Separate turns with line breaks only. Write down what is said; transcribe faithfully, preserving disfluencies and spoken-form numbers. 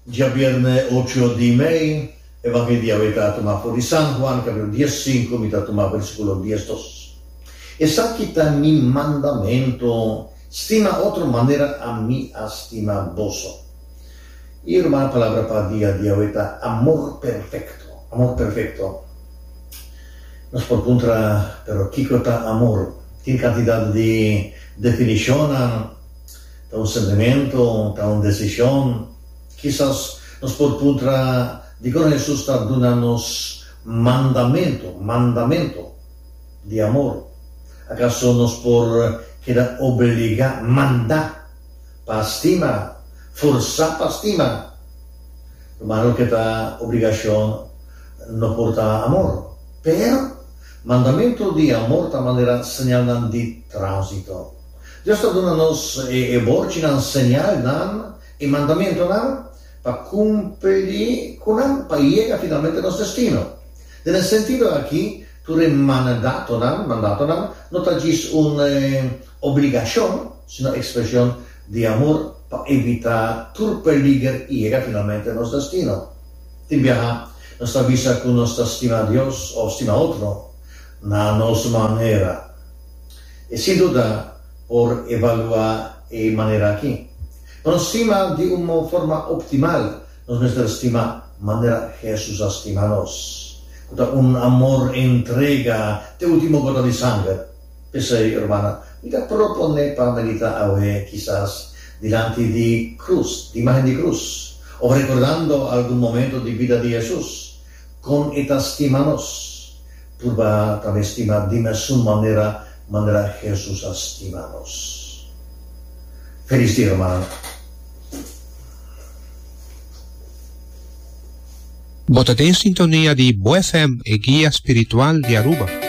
Djabièrnè ocho di mei, Evangelio di awe ta tumá for di San Juan, kapítulo dies sinku, mi ta tuma versíkulo dies dos. Esaki ta mi mandamentu, stima otro manera ami a stima boso. I ruman, palabra pa dia di awe ta amor perfekto, amor perfekto. Nos por puntra, pero kiko ta amor? Tin kantidat di definishonnan, ta un sentimentu, ta un desishon. Kisas nos por puntra dikon Hesus ta duna nos mandamentu, mandamentu di amor. Akaso nos por keda obligá, mandá pa stima, forsá pa stima? Ruman, loke ta obligashon no por ta amor. Pero, mandamentu di amor ta manera señalnan di tránsito. Dios ta duna nos e borchinan, señalnan, e mandamentunan pa kumpli ku nan pa yega finalmente nos destino. Den e sentido aki, tur e mandatonan, mandatonan no ta djis un obligashon, sino ekspreshon di amor pa evitá tur peliger i yega finalmente nos destino. Tin biaha nos ta bisa ku nos ta stima Dios òf stima otro na nos manera. I sin duda por evaluá e manera aki. Pa nos stima di un forma optimal, nos mester stima manera Hesus a stima nos, ku ta un amor entrega te último gota di sanger. P'esei, hermana, mi ta proponé pa meditá awe kisas dilanti di krus, di imágen di krus, òf rekordando algun momento di bida di Hesus, kon e ta stima nos. Purba tambe stima di mesun manera manera Hesus a stima nos. Felis dia, hermana.
Bo ta den sintonia di Bo F M, e guia spiritual di Aruba.